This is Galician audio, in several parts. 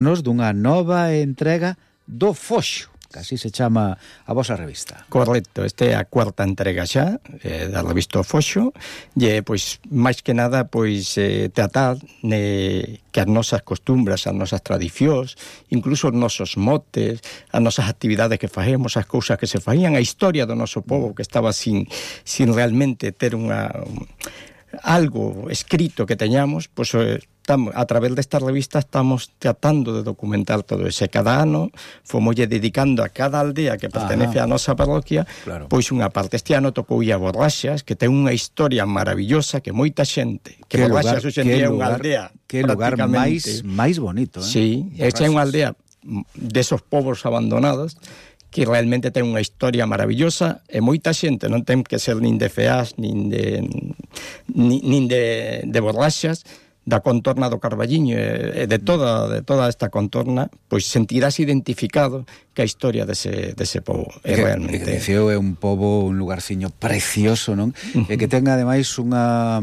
nos dunha nova entrega do Foxo, que así se chama a vosa revista. Correcto, esta é a cuarta entrega xa da revista Foxo, e pois máis que nada pois tratar que as nosas costumbres, as nosas tradicións, incluso os nosos motes, as nosas actividades que facemos, as cousas que se faían, a historia do noso povo que estaba sin realmente ter algo escrito que teñamos, pois a través desta revista estamos tratando de documentar todo ese. Cada ano fomoslle dedicando a cada aldea que pertenece á nosa parroquia, claro, pois unha parte. Este ano tocou a Borraxas, que ten unha historia maravillosa que moita xente, que Borraxas hoxe en día é unha aldea. Que lugar máis bonito, Sí, esta é unha aldea desos povos abandonados que realmente ten unha historia maravillosa e moita xente non ten que ser nin de Feás nin de Borraxas, da contorna do Carballiño e de toda esta contorna, pois sentirás identificado que a historia dese pobo é realmente... Diceo é un pobo, un lugarciño precioso, non? E que ten ademais unha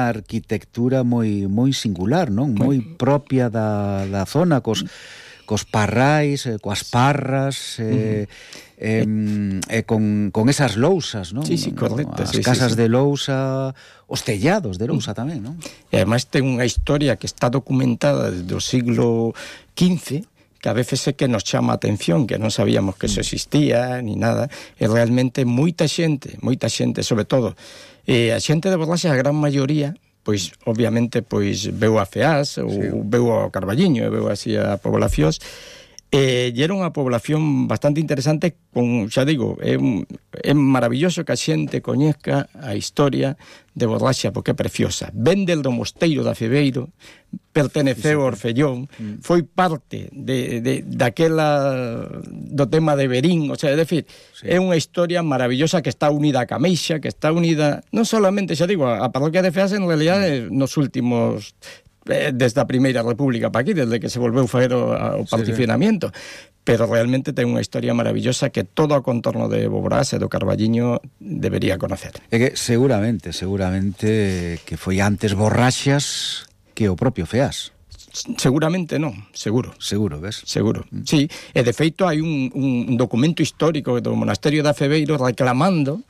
arquitectura moi singular, non? Moi propia da zona, cos parrais, coas parras, con esas lousas, non? Sí, correcto. As casas de lousa, os tellados de lousa tamén, non? E ademais ten unha historia que está documentada desde o siglo XV, que a veces é que nos chama a atención, que non sabíamos que eso existía, ni nada, e realmente moita xente, sobre todo, a xente de Borraxas, a gran maioría, pois, obviamente, pois, veu a Feás, ou veu ao Carballiño, e veu así a poblacións, e era unha población bastante interesante, xa digo, é maravilloso que a xente coñezca a historia de Borraxas, porque é preciosa. Ven del do Mosteiro da Febeiro, perteneceu ao Orfellón, foi parte daquela do tema de Berín, o sea, é dicir, é unha historia maravillosa que está unida a Cameixa, que está unida, non solamente, xa digo, a parroquia de Feás, en realidad, nos últimos... desde a Primeira República para aquí, desde que se volveu faer o particionamiento, pero realmente ten unha historia maravillosa que todo o contorno de Boborás e do Carballiño debería conocer. É que seguramente que foi antes Borraxas que o propio Feás. Seguramente non, seguro, ves? Seguro, sí, e de feito hai un documento histórico do Monasterio da Febeiro reclamando,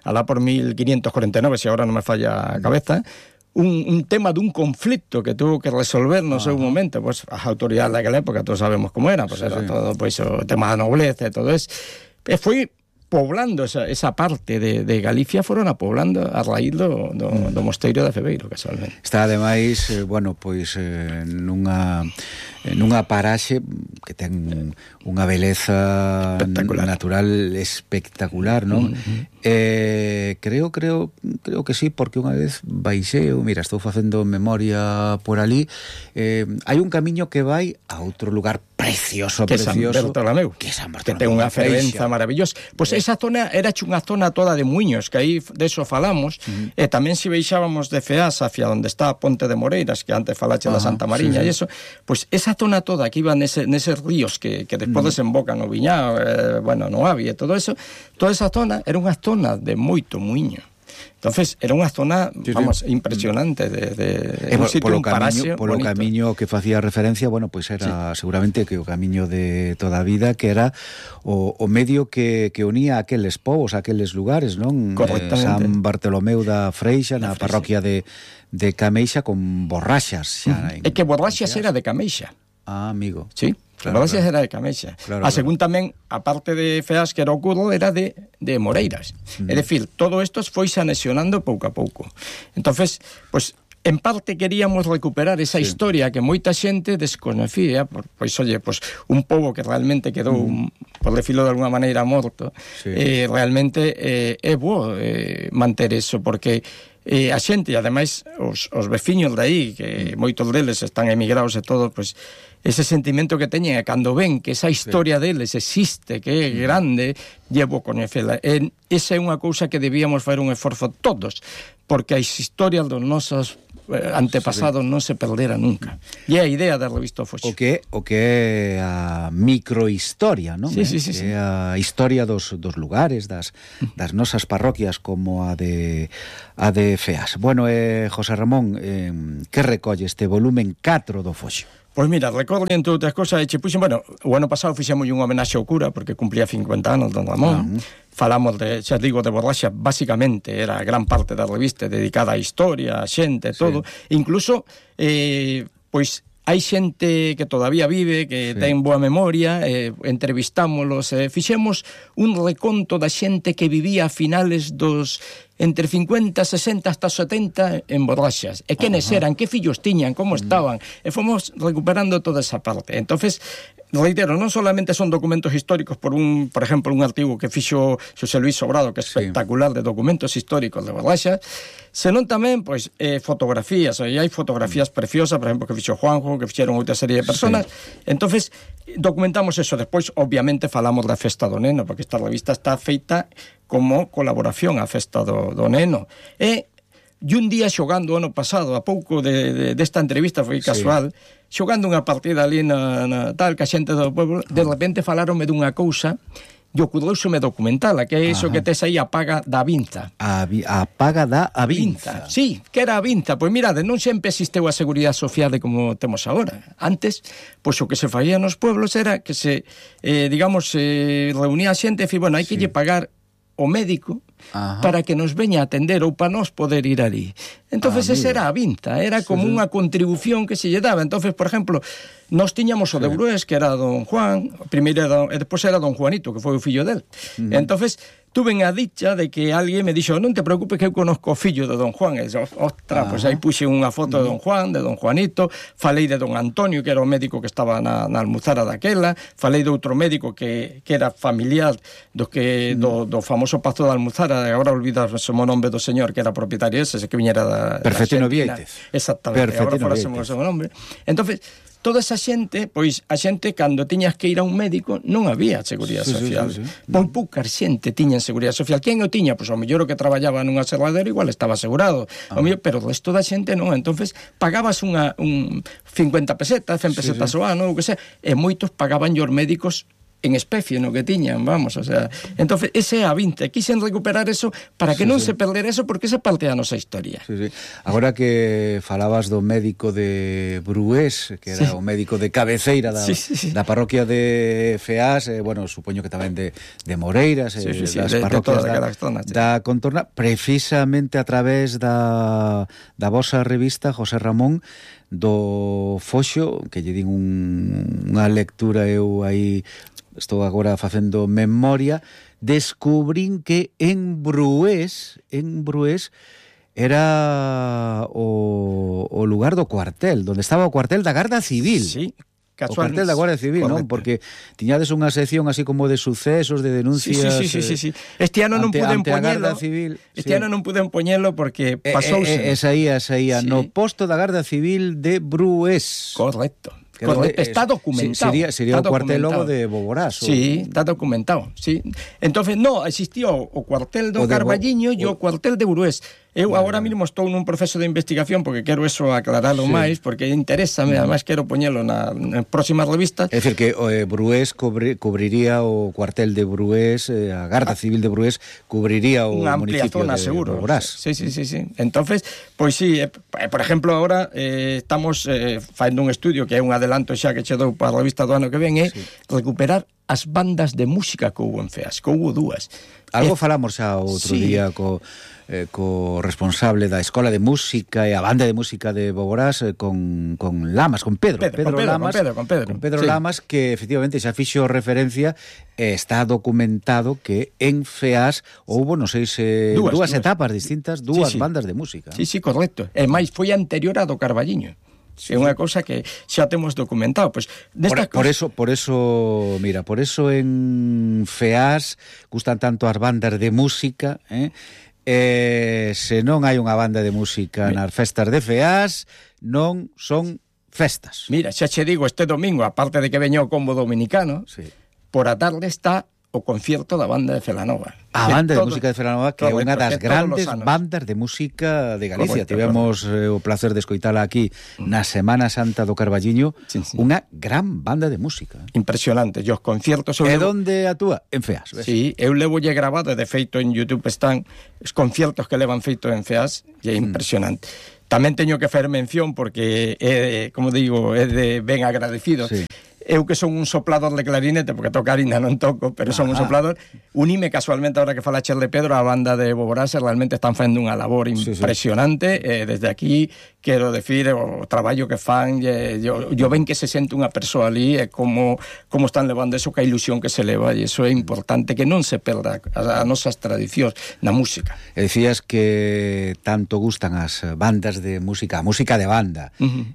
alá por 1549, se agora non me falla a cabeza, un tema dun conflicto que tuvo que resolver no seu momento, pois as autoridades daquela época todos sabemos como era, pois era todo pois o tema da nobleza e todo eso, e foi poblando esa parte de Galicia, foron a poblando a raíz do Mosteiro da Febeiro, casualmente. Está ademais, pois nunha paraxe que ten unha beleza natural espectacular, non? Creo que sí, porque unha vez baixeo, mira, estou facendo memoria por ali, hai un camiño que vai a outro lugar precioso, que é San Bartolomeu, que ten unha fervenza maravillosa. Pois esa zona era unha zona toda de muiños, que aí deso falamos, e tamén se baixábamos de Feás hacia onde está a Ponte de Moreiras, que antes falache da Santa Mariña, e eso, pois esa zona toda que iba neses ríos que despois desembocan no Viñao, no Avi e todo eso, toda esa zona era unha zona de moito muiño. Entonces, era unha zona, impresionante de un sitio, un paraxe polo camiño que facía referencia, pois era seguramente que o camiño de toda a vida, que era o medio que unía aqueles povos, aqueles lugares, non? San Bartolomeu da Freixa, na parroquia de Cameixa, con Borraxas. É que Borraxas era de Cameixa. Amigo. Sí. Borraxas era de Cameixa. A según tamén, a parte de Feás, que era o Curro, era de Moreiras. É dicir, todo isto foise anexionando pouco a pouco. Entonces, pois, en parte queríamos recuperar esa historia que moita xente desconocía, pois, un pobo que realmente quedou, por decirlo de alguna maneira, morto, realmente é bo manter eso, porque a xente, e ademais os veciños de aí, que moitos deles están emigrados e todo, pois ese sentimento que teñen, cando ven que esa historia deles existe, que é grande, llevo coñecela. Esa é unha cousa que debíamos fazer un esforzo todos, porque as historias dos nosos antepasados non se perdera nunca. E é a idea da revista Foxo. O que é a microhistoria, non? Sí. É a historia dos lugares, das nosas parroquias, como a de Feás. Bueno, José Ramón, que recolle este volumen 4 do Foxo? Pois mira, recordo entre outras cosas, puxen, bueno, o ano pasado fixemos un homenaxe ao cura, porque cumplía 50 anos don Ramón. Falamos de, xa digo, de Borraxa, basicamente era gran parte da revista dedicada á historia, a xente, todo. Incluso, pois, hai xente que todavía vive, que ten boa memoria, entrevistámolos, fixemos un reconto da xente que vivía a finales dos entre 50, 60 hasta 70 en Borraxas. E quenes eran, que fillos tiñan, como estaban, e fomos recuperando toda esa parte. Entonces, reitero, non solamente son documentos históricos por ejemplo, un artigo que fixo Xosé Luis Sobrado, que é espectacular, de documentos históricos de Borraxas, senón tamén, pois, fotografías. E hai fotografías preciosas, por exemplo, que fixo Juanjo, que fixeron outra serie de personas. Entonces, documentamos eso. Despois, obviamente, falamos da festa do neno, porque esta revista está feita como colaboración á festa do neno. E un día xogando ano pasado, a pouco desta entrevista, foi casual, xogando unha partida ali na tal, que a xente do pueblo, de repente falaronme dunha cousa, e ocorreuseme documentala, que é iso que tes aí, a paga da Avinza. A paga da Avinza. Sí, que era a Avinza. Pois mirade, non sempre existeu a seguridade social como temos agora. Antes, pois o que se faía nos pueblos era que se, reunía a xente e bueno, hai que lle pagar o médico para que nos veña a atender ou para nós poder ir ali. Entonces esa era a Avinza, era como unha contribución que se lle daba. Entonces, por exemplo, nós tiñamos o de Brués, que era don Juan, primeiro e despois era don Juanito, que foi o fillo del. Entonces, tuve a dicha de que alguén me dixo, non te preocupes que eu conozco o fillo de don Juan. E ostras, pois aí puxe unha foto de don Juan, de don Juanito, falei de don Antonio, que era o médico que estaba na almuzara daquela, falei de outro médico que era familiar do famoso Pazo da Almuzara, agora olvidas o nome do señor que era propietario ese que viñera da Perfectino Vieites. Exactamente, agora forásemos o seu nome. Entonces, toda esa xente, pois a xente cando tiñas que ir a un médico non había seguridade social. Moi pouca xente tiña seguridade social. Quen o tiña? Pois ao mellor o que traballaba nunha serradera igual estaba asegurado. Pero o resto da xente non. Entonces pagabas un 50 pesetas, 100 pesetas ao ano, ou que sea, e moitos pagaban os médicos en especie no que tiñan, vamos, o sea, entonces ese é a Avinza, quixen recuperar eso para que non se perdera eso, porque esa parte da nosa historia. Agora que falabas do médico de Brués, que era o médico de cabeceira da parroquia de Feás, bueno, supoño que tamén de Moreiras, das parroquias da contorna, precisamente a través da vosa revista, José Ramón, do Foxo, que lle din unha lectura, eu aí estou agora facendo memoria, descubrín que en Brués era o lugar do cuartel, onde estaba o cuartel da Garda Civil. Sí, o cuartel da Guardia Civil, non? Porque tiñades unha sección así como de sucesos, de denuncias. Sí. Este ano non puden poñelo. Este ano non puden poñelo porque pasouse. Esa ia no posto da Garda Civil de Brués. Correcto. Está documentado. Sería o cuartel logo de Boborás. Sí, está documentado, sí. Entonces, no, existía o cuartel do Carballiño e o cuartel de Brués. Eu agora mesmo estou nun proceso de investigación porque quero eso aclaralo máis, porque interésame, además quero poñelo na próxima revista. É dicir, que Brués cubriría o cuartel de Brués, a Garda Civil de Brués cubriría o municipio de Boborás. Sí. Entonces, pois sí, por exemplo, agora estamos facendo un estudio que é un adelanto xa que che dou para a revista do ano que ven, é recuperar as bandas de música que houve en Feas, que houve dúas. Algo falamos xa outro día co responsable da Escola de Música e a banda de música de Boborás, con Lamas, con Pedro Lamas, que efectivamente xa fixo referencia, está documentado que en Feas houbo, non sei se dúas etapas distintas, dúas bandas de música. Sí, correcto. E máis foi anterior a do Carballiño. É unha cousa que xa temos documentado. Pues, por eso en Feas gustan tanto as bandas de música, se non hai unha banda de música nas festas de Feas, non son festas. Mira, xa che digo, este domingo, aparte de que veño o combo dominicano, por a tarde está o concierto da banda de Celanova. A banda de música de Celanova, que é unha das grandes bandas de música de Galicia. Tivemos o placer de escoitala aquí na Semana Santa do Carballiño, unha gran banda de música. Impresionante, e os conciertos... E onde actúa? En Feas. Sí, eu levolle grabado, de feito en YouTube están os conciertos que levan feito en Feas, e é impresionante. Tamén teño que fer mención porque, como digo, é de ben agradecido. Sí. Eu que son un soplador de clarinete, porque tocar ainda non toco, pero son un soplador, unime casualmente, ahora que fala Chel de Pedro, a banda de Boborase, realmente están facendo unha labor impresionante. Desde aquí quero decir o traballo que fan, yo ven que se sente unha persoa ali, e como están levando eso, que a ilusión que se leva, e iso é importante, que non se perda as nosas tradicións na música. E dicías que tanto gustan as bandas de música, a música de banda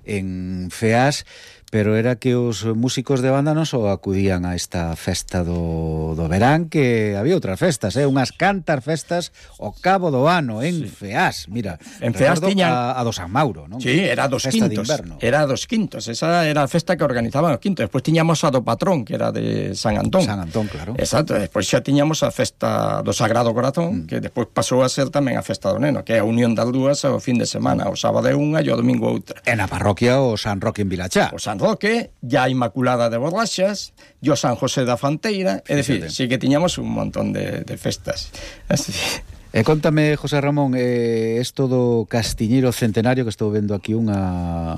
en FEAS, pero era que os músicos de banda non só acudían a esta festa do verán, que había outras festas, unhas cantas festas ao cabo do ano en FEAS. Mira, en FEAS tiñan a do San Mauro, non? Sí, era dos quintos. Era dos quintos, esa era a festa que organizaban os quintos. Despois tiñamos a do patrón, que era de San Antón. San Antón, claro. Exacto, despois xa tiñamos a festa do Sagrado Corazón, que despois pasou a ser tamén a festa do Neno, que é a unión das dúas ao fin de semana, o sábado é unha e o domingo outra. En a parroquia o San Roque en Vilachá. O San Roque, ya a Inmaculada de Borraxas, e o San José da Fanteira, é dicir, sí que tiñamos un montón de festas. Así. Contame, José Ramón, esto do Castiñeiro Centenario, que estou vendo aquí unha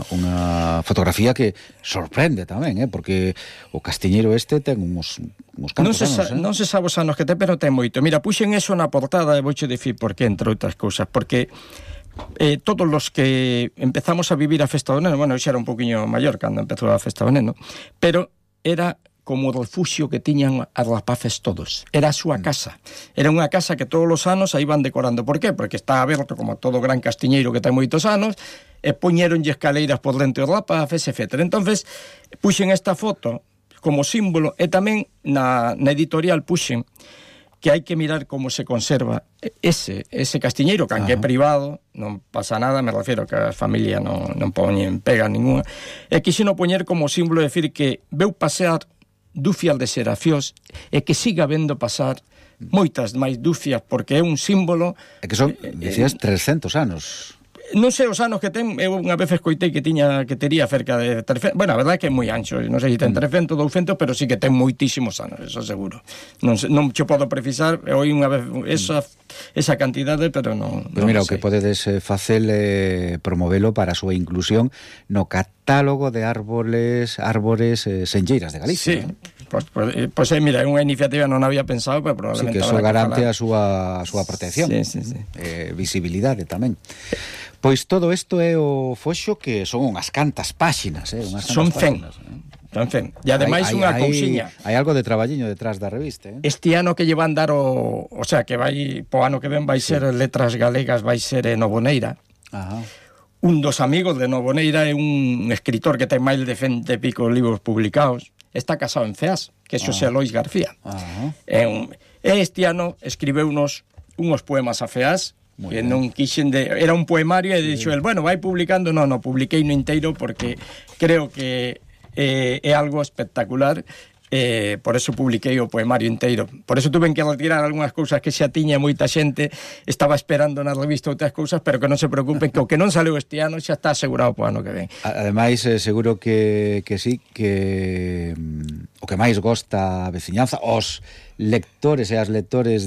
fotografía que sorprende tamén, porque o Castiñeiro ten uns cantos anos. Non se sabe os anos que ten, pero ten moito. Mira, puxen eso na portada e vouche dicir por qué, entre outras cousas, porque todos los que empezamos a vivir a festa do Neno, bueno, eu xa era un poquinho maior cando empezou a festa do Neno, pero era como o refuxio que tiñan as rapaces todos. Era a súa casa. Era unha casa que todos os anos aí van decorando. Por qué? Porque está aberto como todo gran castiñeiro que ten moitos anos, e poñeronlle escaleiras por dentro os rapaces, etc. Entonces, puxen esta foto como símbolo, e tamén na editorial puxen que hai que mirar como se conserva ese castiñeiro, que aunque é privado, non pasa nada, me refiero que a familia non poñen pega ninguna, e quixeno poñer como símbolo, decir que veu pasear dúcias de serafiós e que siga vendo pasar moitas máis dúcias, porque é un símbolo. É que son, dicías, 300 anos. Non sei os anos que ten, eu unha vez escoitei que tería cerca de 300, bueno, a verdade é que é moi ancho, non sei se ten 300, 200, pero sí que ten moitísimos anos, eso seguro. Non che podo precisar, oi unha vez esa cantidade, pero non. Pero mira, o que podedes facer é promovelo para a súa inclusión no catálogo de árbores senlleiras de Galicia. Sí. Pois mira, é unha iniciativa non había pensado, pero probablemente... Sí, que eso garante a súa protección. Sí. Visibilidade tamén. Pois todo isto é o foxo, que son unhas cantas páxinas, son 100. E ademais unha cousiña. Hai algo de traballiño detrás da revista, Este ano que lle van dar o sea, que vai po ano que ven vai ser Letras Galegas, vai ser en Novoneira. Ajá. Un dos amigos de Novoneira é un escritor que ten máis de 20 e pico libros publicados. Está casado en FEAS, que é Xosé Lois García. Este ano escribeunos uns poemas a FEAS, que non quixen era un poemario, e dixo el, bueno, vai publicando, non, publiquei no inteiro porque creo que é algo espectacular, por eso publiquei o poemario inteiro. Por eso tuve que retirar algunhas cousas que xa tiña moita xente, estaba esperando na revista outras cousas, pero que non se preocupen, que o que non saleu este ano xa está asegurado para o ano que ven. Ademais, seguro que sí, que o que máis gosta a veciñanza, os lectores e as lectores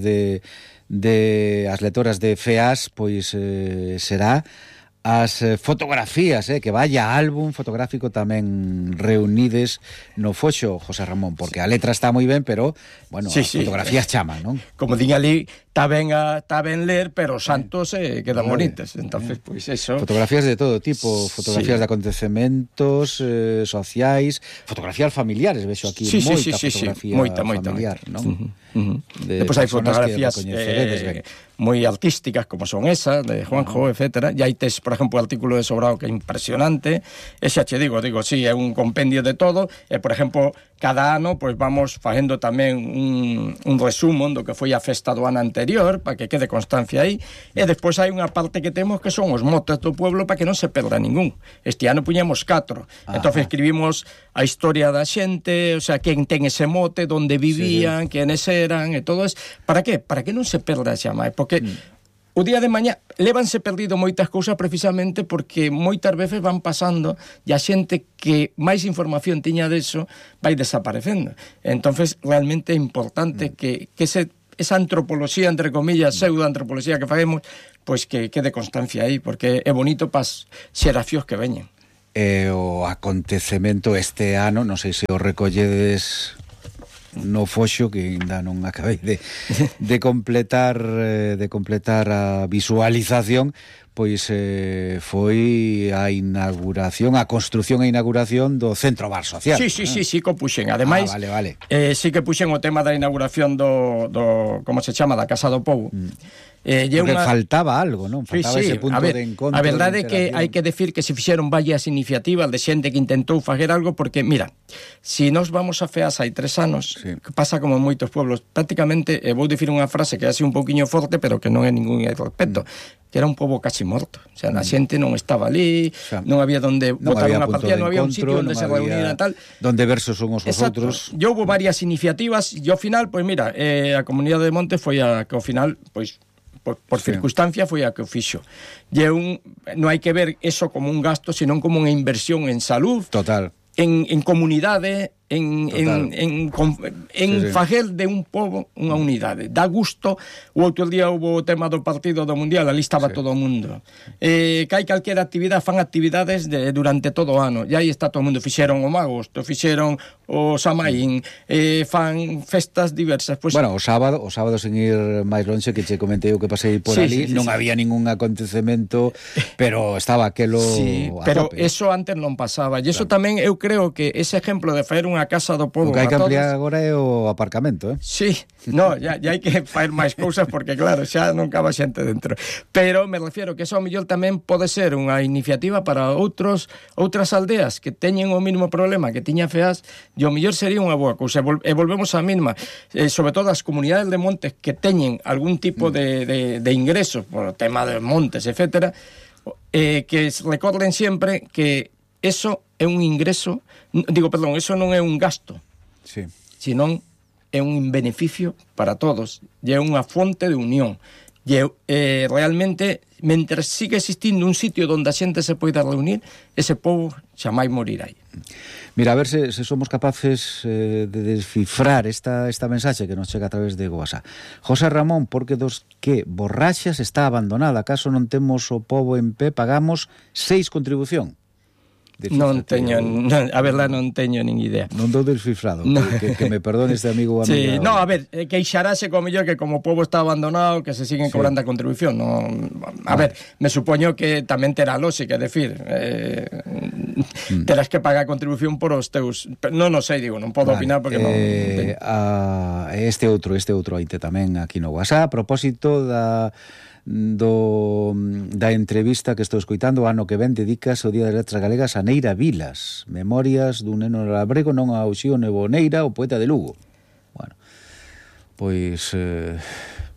as lectoras de FEAS, pois será as fotografías, que vaya álbum fotográfico tamén reunides no foxo, José Ramón, porque a letra está moi ben, pero, bueno, as fotografías chaman, non? Como din ali, está ben ler, pero os santos quedan bonitas. Entonces, pois eso. Fotografías de todo tipo, fotografías de acontecementos sociais, fotografías familiares, vexo aquí moita fotografía familiar, non? Depois hai fotografías moi artísticas, como son esas, de Juanjo, etc. E aí tes, por exemplo, o artículo de Sobrado, que é impresionante. E xa che digo, sí, é un compendio de todo. E, por exemplo, cada ano, pois vamos facendo tamén un resumo do que foi a festa do ano anterior, para que quede constancia aí. E despois hai unha parte que temos que son os motes do pueblo, para que non se perda ningún. Este ano puñemos 4. Entón escribimos a historia da xente, o sea, quen ten ese mote, onde vivían, quenes eran, e todo eso. Para que? Para que non se perda xa máis. Porque o día de mañá lévanse perdido moitas cousas precisamente porque moitas veces van pasando e a xente que máis información tiña deso vai desaparecendo. Entonces realmente é importante que esa antropoloxía, entre comillas, pseudoantropoloxía que facemos, pois que quede constancia aí, porque é bonito para as xeracións que veñen. O acontecemento este ano, non sei se o recolledes no foxo, que ainda non acabei de completar a visualización, pois foi a inauguración, a construción e inauguración do Centro Bar Social. Sí, que puxen. Ademais, vale. Sí que puxen o tema da inauguración do como se chama, da Casa do Pobo. Porque faltaba algo, non? Faltaba ese punto de encontro. A verdade é que hai que decir que se fixeron varias iniciativas de xente que intentou facer algo, porque, mira, si nos vamos a Feas hai 3 anos, que pasa como en moitos pueblos, prácticamente, vou dicir unha frase que é así un poquinho forte, pero que non é ningún respecto, que era un pobo casi morto. O sea, a xente non estaba ali, non había donde botar unha partida, non había un sitio onde se reunir e tal. Donde versos son os outros. E houve varias iniciativas, e ao final, pois mira, a Comunidade de Monte foi a que ao final, pois, por circunstancia foi a que o fixo. E non hai que ver eso como un gasto, senón como unha inversión en salud, total, en comunidade, en facer de un pobo unha unidade. Dá gusto. O outro día houve o tema do partido do Mundial, ali estaba todo o mundo. Que hai calquera actividade, fan actividades durante todo o ano, e aí está todo o mundo. Fixeron o Magosto, fixeron o Samaín, fan festas diversas. Pues, bueno, o sábado sen ir máis lonxe, que che comentei o que pasei por ali, non había ningún acontecemento, pero estaba aquelo a pero tope. Eso antes non pasaba, e eso tamén eu creo que ese exemplo de facer unha casa do pobo. O que hai que ampliar agora é o aparcamento, Sí, ya hai que facer máis cousas, porque claro, xa non caba xente dentro. Pero me refiero que eso ao mellor tamén pode ser unha iniciativa para outras aldeas que teñen o mismo problema que tiña Feas, e ao mellor sería unha boa cousa. E volvemos á mesma, sobre todo as comunidades de montes que teñen algún tipo de ingresos por o tema de montes, etcétera, que recorden sempre que eso é un ingreso, eso non é un gasto, senón é un beneficio para todos, e é unha fonte de unión. E realmente, mentre siga existindo un sitio onde a xente se poida reunir, ese pobo xamais morirá aí. Mira, a ver se somos capaces de descifrar esta mensaxe que nos chega a través de WhatsApp. José Ramón, porque dos que Borraxas está abandonada, acaso non temos o pobo en pé, pagamos 6 contribución? Non teño, a verdade non teño nin idea. Non dou descifrado, que me perdone este amigo ou amiga. Sí, no, a ver, queixarase como mellor que como o pobo está abandonado, que se siguen cobrando a contribución. No, a ver, me supoño que tamén terá lógica, é dicir, terás que pagar a contribución por os teus... Non sei, non podo opinar porque non... Este outro aite tamén aquí no WhatsApp, a propósito da entrevista que estou escoitando, o ano que ven dedicas o Día das Letras Galegas a Neira Vilas, memorias dun neno labrego, non a Uxío Neboneira, o poeta de Lugo. Bueno, pois...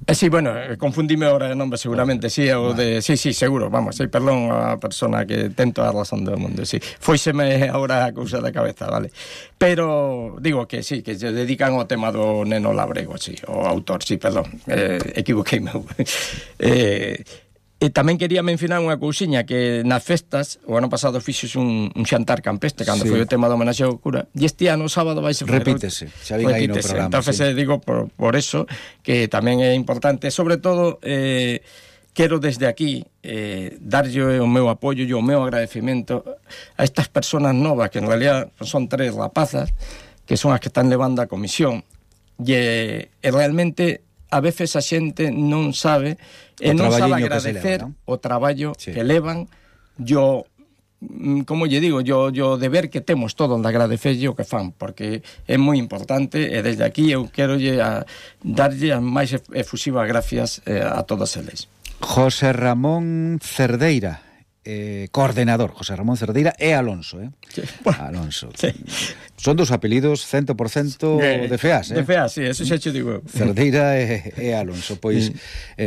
Sí, bueno, confundime ahora de nombre seguramente, sí, o de... Sí, seguro, vamos, perdón a persona que tento a razón do mundo, sí. Foiseme ahora a cousa da cabeza, vale. Pero digo que sí, que se dedican ao tema do neno labrego, sí, o autor, sí, perdón, equivoqueime. E tamén quería mencionar unha cousiña, que nas festas, o ano pasado fixos un xantar campestre, cando foi o tema do homenaxe ao cura, e este ano, sábado, vai ser... Repítese, xa vin aí no programa. Entonces, digo, por eso, que tamén é importante, sobre todo, quero desde aquí darlle o meu apoio e o meu agradecimento a estas personas novas, que en realidad son 3 rapazas, que son as que están levando a comisión, e realmente... a veces a xente non sabe e non sabe agradecer o traballo que levan, como lle digo, yo deber que temos todo onde agradecelle o que fan, porque é moi importante, e desde aquí eu quero darlle as máis efusivas gracias a todos eles. José Ramón Cerdeira, coordenador, José Ramón Cerdeira e Alonso, Sí, bueno, Alonso. Sí. Son dos apelidos 100% de Feas, De Feas, sí, eso xa te digo. Cerdeira e Alonso. Pois,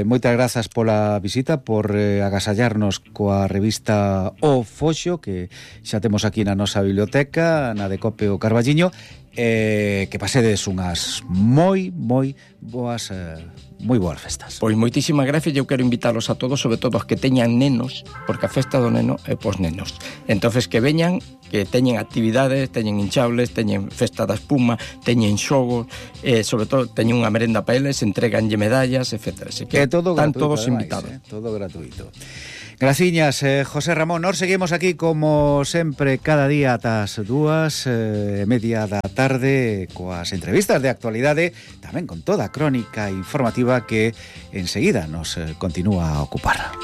moitas grazas pola visita, por agasallarnos coa revista O Foxo, que xa temos aquí na nosa biblioteca, na de Cope o Carballiño, que pasedes unhas moi boas festas. Pois moitísimas gracias, eu quero invitalos a todos, sobre todo os que teñan nenos, porque a festa do neno é pos nenos. Entonces que veñan, que teñen actividades, teñen hinchables, teñen festa da espuma, teñen xogos, sobre todo teñen unha merenda para eles, entreganlle medallas, etc. Así que todo están gratuito, todos ademais, invitados. Todo gratuito. Graciñas, José Ramón. Nos seguimos aquí como sempre cada día ás 2:30 da tarde coas entrevistas de actualidade, tamén con toda a crónica informativa que enseguida nos continúa a ocupar.